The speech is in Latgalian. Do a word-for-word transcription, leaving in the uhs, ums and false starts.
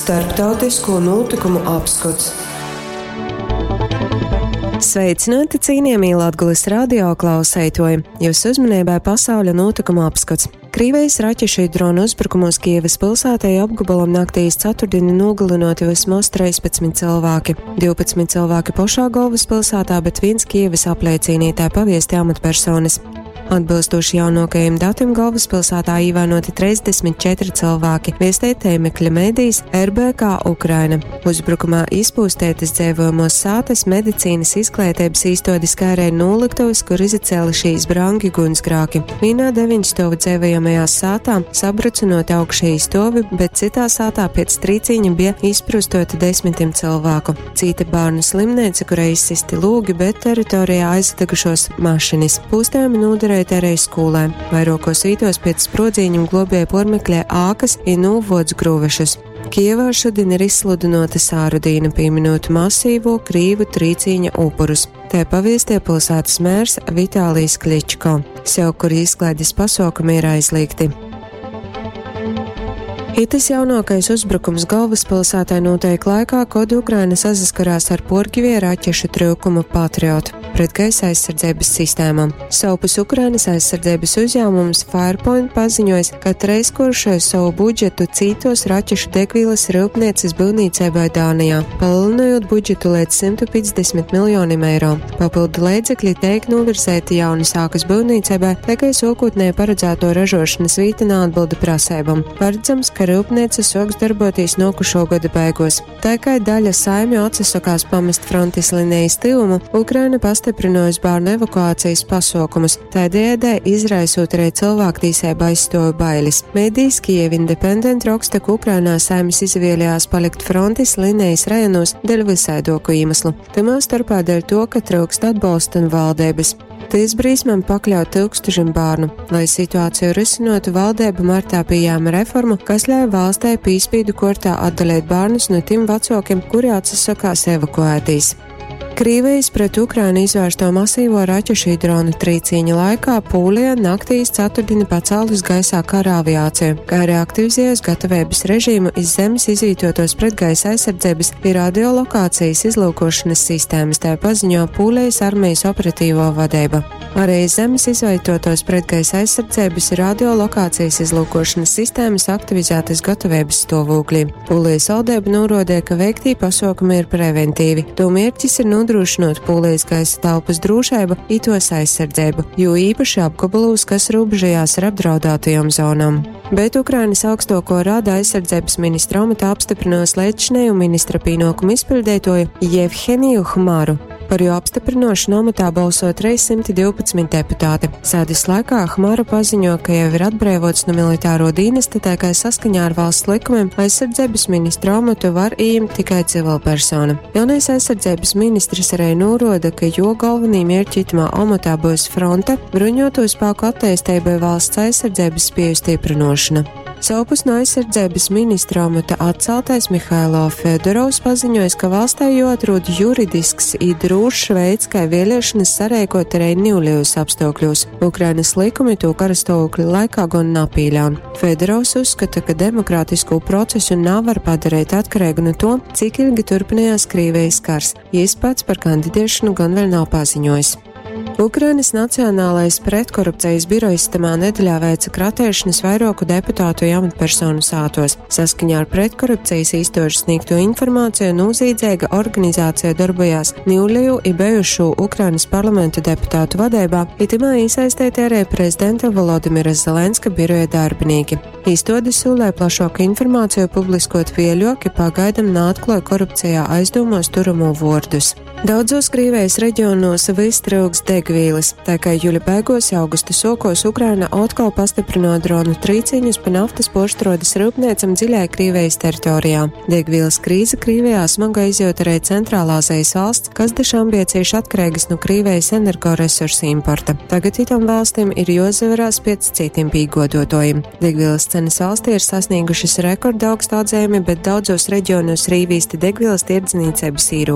Starptautisko notikumu apskots. Sveicināti, cienījamie Latgulas radio klausētoji! Jūsu uzmanībai pasauļa notikuma apskats. Krīvijas raķešu dronu uzbrukumos Kievas pilsētai apgabalam naktīs ceturtdienu nogalinoti vismaz trīspadsmit cilvēki. divpadsmit cilvēki pašā galvaspilsētā, bet viens Kievas apliecīnī, tā paviesti amatpersonas. Atbilstoši jaunākajiem datiem galvaspilsētā ievainoti trīsdesmit četri cilvēki, viestē tēmekļa mēdījis R B K Ukraina. Uzbrukumā izpūstētas dzīvojamos sātas, medicīnas izglītības īstodis, kā arī noliktuvas, kur izacēlušies brangi gunsgrāki. Vienā deviņu stovu dzīvojamajā sātā sabrucinot augšēji stovi, bet citā sātā pēc trīciņa bija izprustoti desmitiem cilvēku. Cita bērnu slimnīca, kurai izsisti lūgi, bet teritorijā aizdegušos mašinis. Pūstējumi noderēja arī skolē. Vairākos vītos pēc sprodziņiem globēja pormeklē ākas i nūvodz grūvešus. Kievā šodien ir izsludinota sāru dīna, pieminot masīvo krīvu trīcīņa upurus. Te paviestie pilsētas mērs Vitālijs Kličko. Sev, kur izklaides pasaukumi ir aizliegti. Itis jaunākais uzbrukums galvaspilsētai notiek laikā, kad Ukraina saskarās ar porgivie raķešu trūkumu Patriot pret gaisa aizsardzības sistēmām. Savpus Ukrainas aizsardzības uzņēmums Firepoint paziņojis, ka treiskuršoja savu budžetu citos raķešu degvielas rūpnieces būvniecībai Dānijā, palielinot budžetu līdz simtu piecdesmit miljoniem eiro. Papildu līdzekļi tiek novirzēti jaunas ākas būvniecībai, tikai sākotnēji paredzēto ražošanas vīta neatbilda prasībām. Paredzams, ka rūpnīca soks darboties nokušo gada beigos. Tā kā daļa saimju atsakās pamest frontes linijas tuvumu, Ukraina pastiprinājusi bērnu evakuācijas pasaukumus, tādējādi izraisot arī cilvēktiesību aizstoju bailes. Mēdījis Kiev Independent raksta, ka Ukrainā saimes izvēlējās palikt frontes linijas rajonos dēļ visaidoku iemeslu, tamā starpā dēļ to, ka trūkst atbalsta un valdības. Tīs brīsmam pakļaut tūkstošiem bērnu. Lai situāciju risinotu, valdība martā pieņēma reformu, kas ļauj valstei pīspīdu kortā atdalīt bērnus no tiem vecākiem, kuri atsakās evakuētīs. Krīvijas pret Ukrainu izvērsto masīvo raķešu dronu trīcīņa laikā Pūlija naktīs ceturtdienu pacēlus gaisā kara aviāciju, kā arī aktivizējusi gatavības režīmu iz zemes izvītotos pretgaisa aizsardzības ir radiolokācijas izlūkošanas sistēmas, tā paziņo Pūlijas armijas operatīvo vadība. Arī iz zemes izvietotos pretgaisa aizsardzības ir radiolokācijas izlūkošanas sistēmas aktivizētas gatavības stāvoklī. Pūlijas valdība norādīja, ka veiktī pasaukumi ir preventīvi. To mērķis ir nodrošinot Pūlijas gaisa telpas drošību, itos aizsardzību, jo īpaši apgabalos, kas robežojās ar apdraudētajām zonām. Bet Ukrainas augstoko rada aizsardzības ministra amatā apstiprinos līdzšinēju ministra pienākumu izpildītāju Jevheniju Hmaru. Par jo apstiprinošanu amatā balso trīs simti divpadsmit deputāti. Sēdes laikā Hmara paziņo, ka jau ir atbrīvots no militāro dienesta, tā kā saskaņā ar valsts likumiem aizsardzības ministra amatu var ieņemt tikai civilpersona. Jaunais aizsardzības ministrs arī noroda, ka jo galvenī mērķi itamā amatā būs fronte, bruņoto spēku attīstība valsts aizsardzības spēju stiprinošana. Savpus no aizsardzības ministra amata atceltais Mihailo Fedorovs paziņojis, ka valstī jāatrod juridisks i drūšs veids, kā vēlēšanas sareikot arī niuļos apstākļos. Ukrainas likumi to karastāvokļa laikā gan napīļā. Fedorovs uzskata, ka demokrātisko procesu nav var padarīt atkarīgu no to, cik ilgi turpinājās Krievijas kars. Jis pats par kandidēšanu gan vēl nav paziņojis. Ukrainas Nacionālais pretkorupcijas birojs tamā nedēļā veica kratēšanas vairāku deputātu amatpersonu sātos. Saskaņā ar pretkorupcijas īstošu sniegto informāciju nozīdzīga organizācija darbojās Niuļeju i bijušo Ukrainas parlamenta deputātu vadībā, itimā iesaistīti arī prezidenta Volodimira Zelenska biroja darbinieki. Īstodi solē plašāku informāciju publiskot vieļoki pagaidam neatklāja korupcijā aizdomos turamo vārdus. Daudzos Krievijas reģionos viss trūks degvīles, tā kā jūļa beigos, augusta sokos Ukraina atkal pastiprino dronu trīciņus pa naftas poštrodas rūpniecam dziļai Krievijas teritorijā. Degvīles krīze Krievijā smaga izjūta arī Centrālāzijas valsts, kas dešām bija cieši atkarīgas no Krievijas energoresursu importa. Tagad itam valstīm ir jozaverās pēc citiem pīgodotojiem. Degvielas cenas valstī ir sasniegušas rekordaugstu atzīmi, bet daudzos reģionos rīvīsti degvielas tirdzniecības